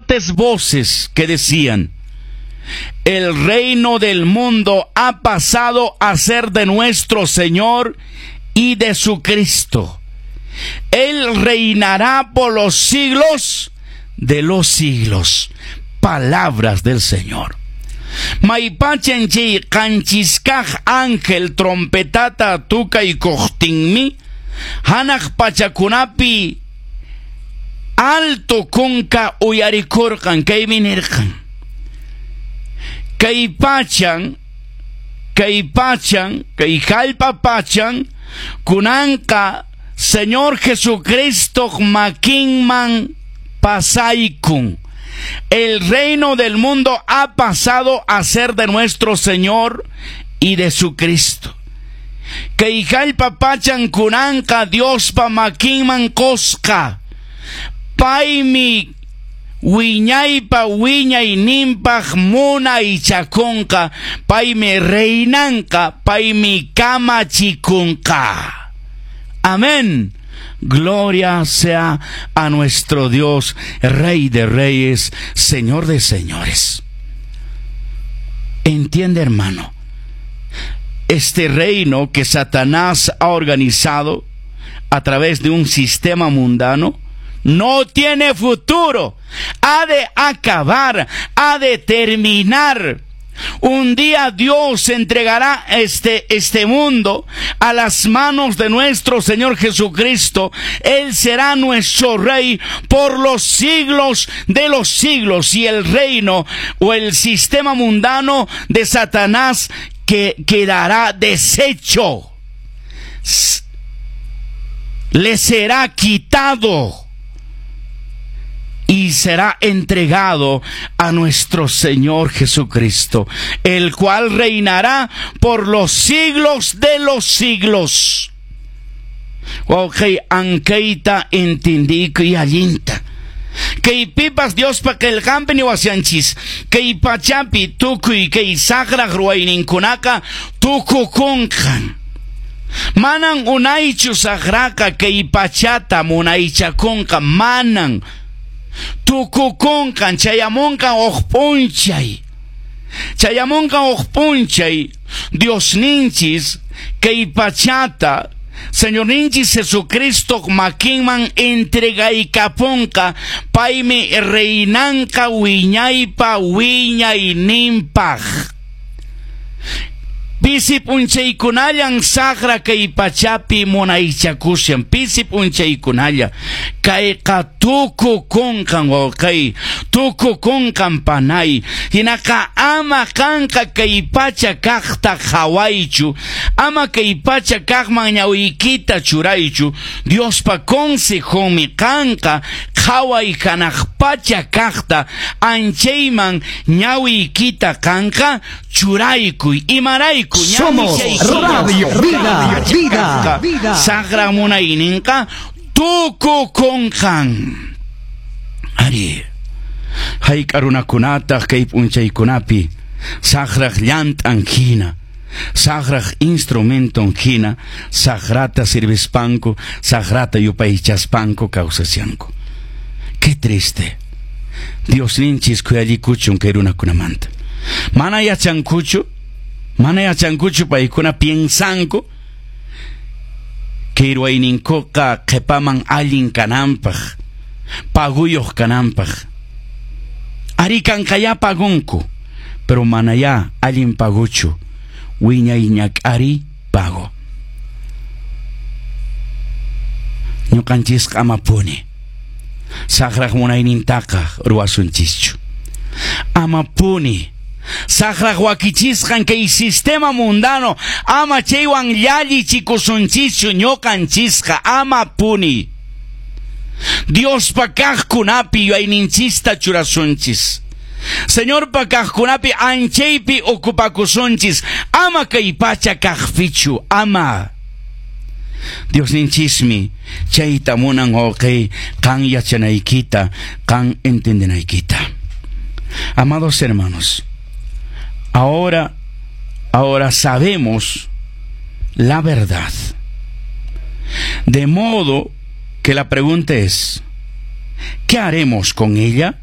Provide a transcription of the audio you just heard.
Fuertes voces que decían: "El reino del mundo ha pasado a ser de nuestro Señor y de su Cristo. Él reinará por los siglos de los siglos". Palabras del Señor. Maypachan chay qanchiskaq ángel trompetata tukaykuqtinmi hanaq pachakunapi alto kunka uyarikurqan, kaymi nirqan: Kay pachan, kay pachan, kay hallp'a pachan kunanqa Señor Jesucristo makinman pasaykun. El reino del mundo ha pasado a ser de nuestro Señor y de su Cristo. Kay hallp'a pachan kunanqa Diospa makinman qusqa. Paymi wiñaypa wiñayninpaq munaychakunqa, paymi reinanqa, paymi kamachikunqa. Amén. Gloria sea a nuestro Dios, Rey de reyes, Señor de señores. Entiende, hermano, este reino que Satanás ha organizado a través de un sistema mundano no tiene futuro. Ha de acabar, ha de terminar. Un día Dios entregará este mundo a las manos de nuestro Señor Jesucristo. Él será nuestro Rey por los siglos de los siglos. Y el reino o el sistema mundano de Satanás que quedará deshecho. Le será quitado y será entregado a nuestro Señor Jesucristo, el cual reinará por los siglos de los siglos. Wawqi, ankayta entendiykuy allinta. Kaypipas Diospa qillqanpi niwashanchis, kay pachapi tukuy kay saqraq ruwayninkunaqa tukukunqan. Manan unaychu saqraqa kay pachata munaychakunqa, manan. Tukukunqan, chayamunqan huk p'unchay. Chayamunqan huk p'unchay Diosninchis kay pachata Señorninchis Jesucristo makinman entregaykapunqa, paymi reinanqa wiñaypa wiñayninpaq. Pisi p'unchaykunallan saqra kay pachapi munaychakushan, pisi p'unchaykunalla. Kayqa tukukunqan, wawqay, tukukunqan, panay. Hinaqa ama qanqa kay pacha kaqta qhawaychu, ama kay pacha kaqman ñawiykita churaychu. Diospa consejonmi qanqa qhaway hanaq pacha kaqta, anchayman ñawiykita qanqa churaykuy. Imarayku? Somos Radio Vida, Vida, Vida. Saqra munayninqa tukukunqan. Ari, hayk'a runakunataq kay p'unchaykunapi saqraq llant'an hina, saqraq instrumenton hina, saqrata sirvispanku, saqrata yupaychaspanku kawsashanku. Qué triste. Diosninchis khuyallikuchun kay runakunamanta. Mana yachankuchu, mana yachankuchu, paykuna piensanku kay ruwayninkuqa qhipaman allin kananpaq, paguyuq kananpaq. Ari, kanqayá pagunku, pero manayá allin paguchu, wiñay ñak'ari pago. Ñuqanchisqa amapuni saqraq munaynintaqa ruwasunchischu. Amapuni saqraq wakichisqan kay sistema mundano ama chaywan llallichikusunchischu ñuqanchisqa, amapuni. Diospa kaqkunapi yuyayninchista churasunchis. Señorpa kaqkunapi anchaypi ocupakusunchis, ama kay pacha kaqpichu, ama. Diosninchismi chayta munan, wawqi, qan yachanaykita, qan entendenaykita. Amados hermanos, ahora sabemos la verdad. De modo que la pregunta es: ¿qué haremos con ella?